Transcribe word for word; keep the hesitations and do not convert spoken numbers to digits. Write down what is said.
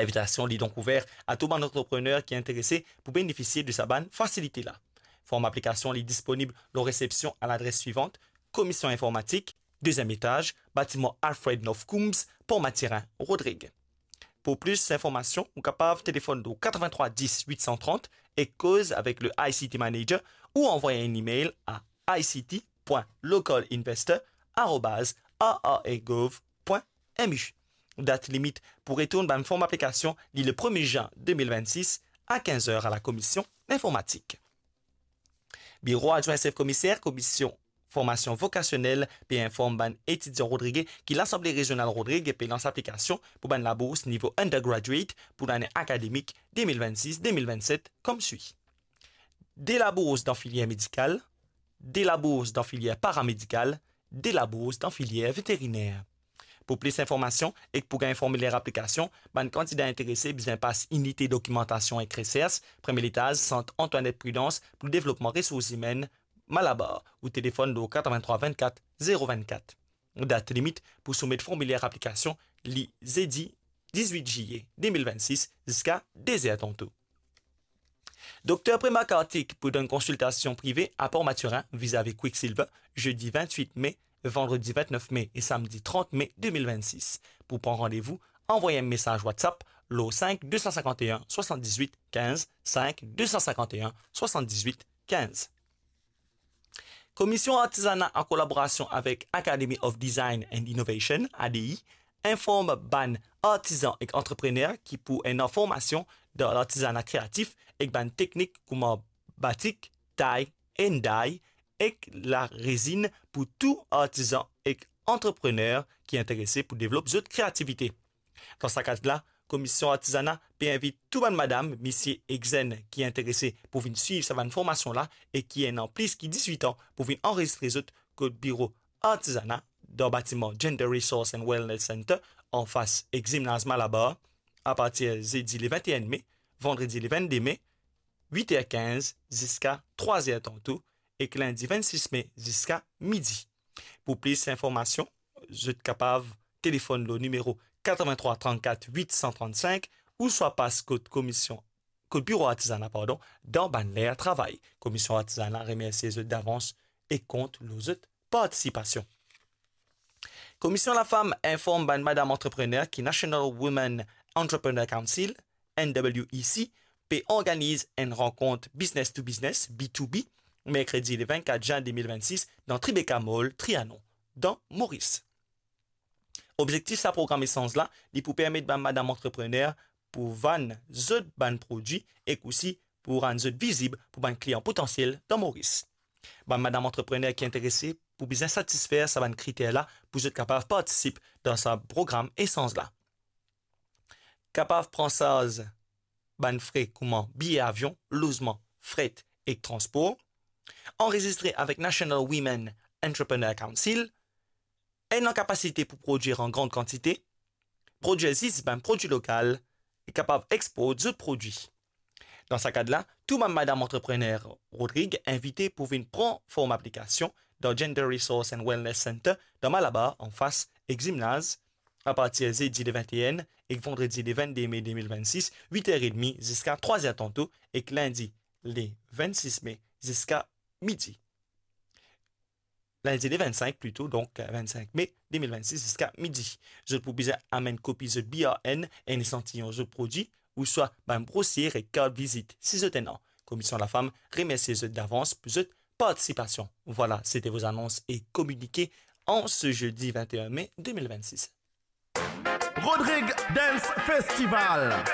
Linvitasion li donk ouver a tou bann antreprener ki interese pou benefisie de sa bann fasilite la. Form aplikasion li disponib lor resepsion a ladres swivant: Komision Informatik, deziem etaz, batiman Alfred North Coombs, Port Mathurin, Rodrig. Pou plis informasion, ou kapav telefonn lor katrevin-trwa dis wit san trant ek koz avek le I C T manager ou anvway enn email a I C T point local investor arobaz R R A gov point M U. Dat limit pou retourn bann form aplikasion li le premie zin de mil vennsis a kinz er a la Komision Informatik. Biro adwin sef komiser Komision Formasion Vokasionel pe inform bann etidian Rodrig ki Lasanble Rezional Rodrig pe lans aplikasion pou bann labours nivo undergraduate pou lane akademik de mil vennsis de mil vennset koumsa swi: de labours dan filier medikal, de labours dan filier paramedikal, de labours dan filier veteriner. Pou plis informasion ek pou gagn formiler aplikasion, bann kandida interese bizin pas inite dokimantasion ek resers, premie letaz, Sant Antoinette Prudence pou devlopman resours imenn, Malabar, ou telefonn lor katrevin-trwa vennkat zero vennkat. Dat limit pou soumet formiler aplikasion li zedi dizwit ziye de mil vennsis ziska de zer tanto. Dokter Prema Kartik pou donn konsiltasion prive a Port Mathurin vizavi Quicksilver, zedi vintwit me, vandredi vintnef me e samdi trant me de mil vennsis. Pou pran randevou, anvway enn mesaz WhatsApp lor sink de san sinkant-e-enn swasanndizwit kinz, sink de san sinkant-e-enn swasanndizwit kinz. Komision Artizana, an kolaborasion avek Academy of Design and Innovation, A D I, inform bann artizan ek antreprener ki pou ena formasion dan lartizana kreatif ek bann teknik kouma batik, tay, enday ek larezinn pou tou artizan ek antreprener ki interese pou devlop zot kreativite. Dan sa kad la, Komision Artizana pe invit tou bann madam, misie ek zenn ki interese pou vinn swiv sa bann formasion la e ki ena plis ki dizwit an pou vinn anrezistre zot kot biro Artizana dan batiman Gender Resource and Wellness Center, anfas ek Zimnaz Malabar, apartir zedi le vinteenn me, vandredi le vennde me, wit er kinz ziska trwa zer tanto, ek lindi vennsis me ziska midi. Pou plis informasion, zot kapav telefonn lor nimero katrevin-trwa trannkat wit san trannsink ouswa pas kot komision, kot biro Artizana, pardon, dan bann ler travay. Komision Artizana remersie zot davans e kont lor zot partisipasion. Komision Lafam inform bann madam antreprener ki National Women Entrepreneur Council, N W E C, pe organiz enn rankont business to business, B to B, merkredi le vennkat zin de mil vennsis dan Tribeca Mall, Trianon, dan Moris. Obzektif sa program esanz la, li pou permet bann madam antreprener pou vann zot bann prodwi ek osi pou rann zot vizib pou bann klian potansiel dan Moris. Bann madam antreprener ki interese pou bizin satisfer sa bann kriter la pou zot kapav partisip dan sa program esanz la. Kapav pran sarz bann fre kouma biye avion, lozman, fret ek transpor, anrezistre avek National Women Entrepreneur Council, ena kapasite pou prodwir an gran kantite, prodwir zis bann prodwi lokal e kapav export zot prodwi. Dan sa kad la, tou bann madam antreprener Rodrig invite pou vinn pran form aplikasion dan Gender Resource and Wellness Center dan Malabar, anfas ek Zimnaz, apartir zedi le vinteenn ek vandredi le vennde me de mil vennsis, wit er edmi ziska trwa zer tanto, ek lindi le vennsis me ziska midi. Lindi le vennsink plito, donk, vennsink me de mil vennsis ziska midi. Zot pou bizin amenn kopi zot B R N, enn esantiyon zot prodwi, ouswa bann brosie ek kart vizit, si zot ena. Komision Lafam remersie zot davans pou zot partisipasion. Voilà, c'était vos annonces et communiqués en ce jeudi vingt et un mai deux mille vingt-six. Rodrig Dance Festival.